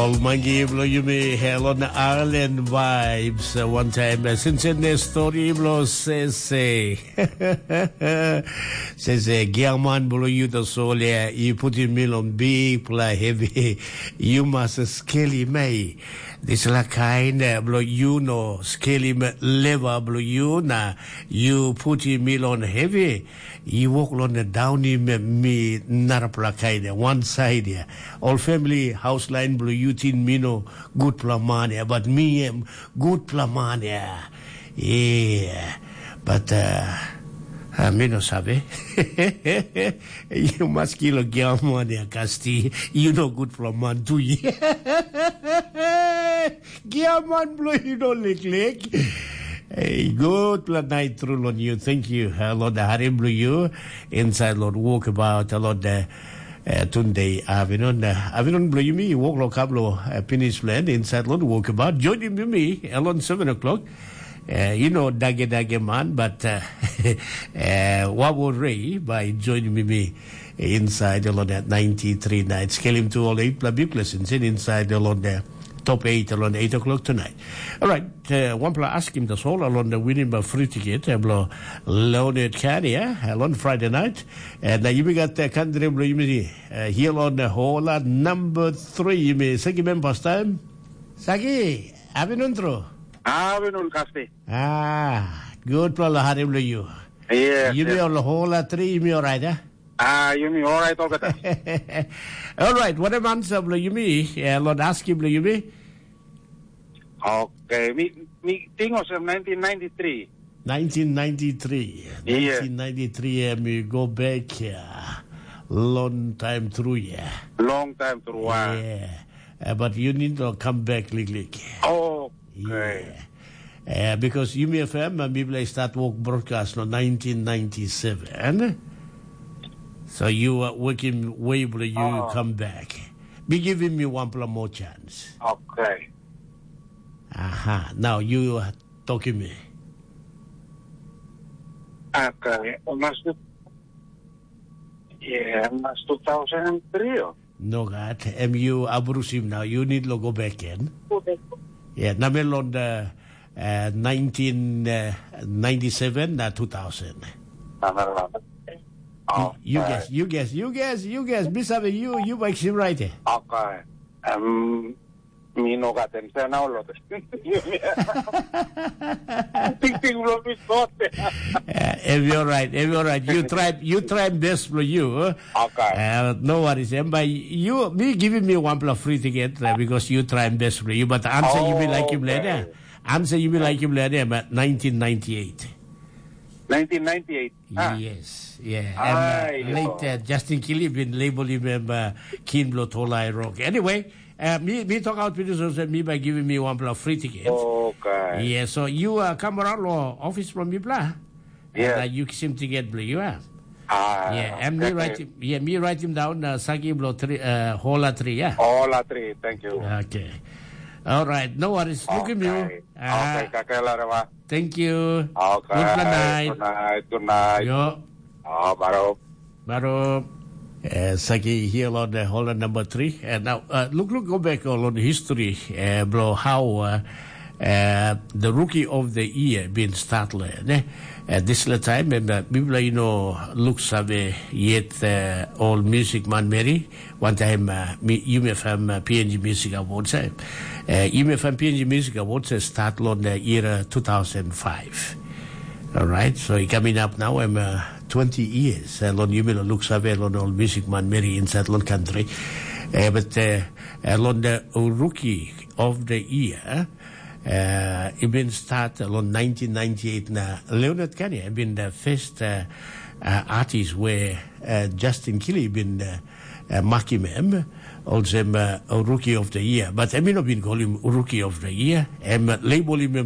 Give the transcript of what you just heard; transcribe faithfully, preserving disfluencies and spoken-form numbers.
Ol mangi bilong yumi, hello na Island Vibes. One time, sinsen ne story bilong sese. Sese, giaman bilong yu tasol ya, i putim mi long bikpela hevi. Yu mas skelim ei. Dispela kain bilong yu no skelim leva bilong yu na yu putim mi long hevi. I wok long daunim mi narapela kain ya, wan sait ya. Ol famili haus lain bilong yu ting mi no gutpela man ya, bat mi em gutpela man ya. Yeah. Bat uh, uh, mi no save. Yu mas kilo giaman ya, Kasti. Yu no gutpela man tu ya. Giaman bilong yu no liklik. Hey, gutpela nait tru long yu. Thank you. Uh, Lord, harim bilong yu inside Lord walk about a lot. Uh, uh, tunde avinon uh, avinon bilong yumi i wok long kam long uh, pinis plan inside long walk about joinim yumi along seven o'clock. Uh, you know, dage dage man, but uh, uh, wabo rei by joinim yumi inside along that ninety-three nights. Kelim tu all eight pla big lessons in inside along there. Top eight along eight o'clock tonight. All right, uh, one pla askim the soul along the winning by free ticket uh, blo Leonard Carrier along Friday night. And uh, you got the country blo you uh, here on the whole uh, number three. You may second member time. Saki, abinun tru. Abinun kasti. Ah, good pla hari blo you. Yeah. You may all whole uh, three, you may all right, eh? Ah, yumi orait olgeta. Alright, wanem ansa bilong yumi? Eh, Lord aski bilong yumi. Okay, mi mi ting olsem nineteen ninety-three. nineteen ninety-three. Yeah. nineteen ninety-three, eh, mi go back here. Long time through, yeah. Long time through. Ah. Yeah. Eh, but you need to come back, Lik Lik. Okay. Yeah. Uh, because Yumi F M, uh, mipela i start work broadcast no nineteen ninety-seven. So you are working way before you Oh. come back. Be giving me one pla more chance. Okay. Aha. Now you are talking me. Okay. Must yeah, must two thousand three. Oh. No gat. M U abrusim now. You need to go back in. Yeah, namelon the uh, nineteen ninety-seven na two thousand. Oh, you guess, you guess, you guess, you guess. Bisa you, you make him right. Eh? Okay. Um, mi no gat answer now, lot. Ting ting lo mi sot. Uh, if you're right, if you're right, you try, you try best for you. Huh? Okay. Uh, no worries. And by you, me giving me one plus free ticket uh, because you try best for you. But answer you be like him later. Answer you be like him later. But nineteen ninety-eight. nineteen ninety-eight. Ah. Yes, yeah. And uh, late uh, Justin Kelly been label him um, uh, King Blood Whole Eye Rock. Anyway, uh, me, me talk out with this also me by giving me one plus free ticket. Okay. Yeah, so you uh, come around lo office from me bla. Yeah. And, uh, you seem to get blue, you are. Ah, yeah, and me write him, yeah, me write him down uh, Sagi Blow three, uh, Hola three, yeah. Hola three, thank you. Okay. All right, no worries. Look at you. Okay. Ah. Okay, kakela rewa. Thank you. Okay. Good night. Good night. Good night. Yo. Oh, baro. Baro. Uh, Sagi here on the Holland number three. And now, uh, look, look, go back on history. Uh, bro, how uh, uh, the rookie of the year being started. Eh? Uh, this is the time, and uh, people, you know, look save yet uh, all music man Mary. One time, uh, me, you may have uh, P N G Music Awards. Eh? Uh, you may have P N G Music Awards uh, start on the year uh, two thousand five. All right, so it coming up now. I'm uh, twenty years. Uh, Lon Yumila looks away on all music man Mary inside Lon country. Uh, but uh, uh, Lon the rookie of the year. Uh, it been start along nineteen ninety-eight na Leonard Kanye been the first uh, uh, artist where uh, Justin Kili been uh, uh, makim him also uh, a rookie of the year, but I mean not been call him rookie of the year. Him uh, label him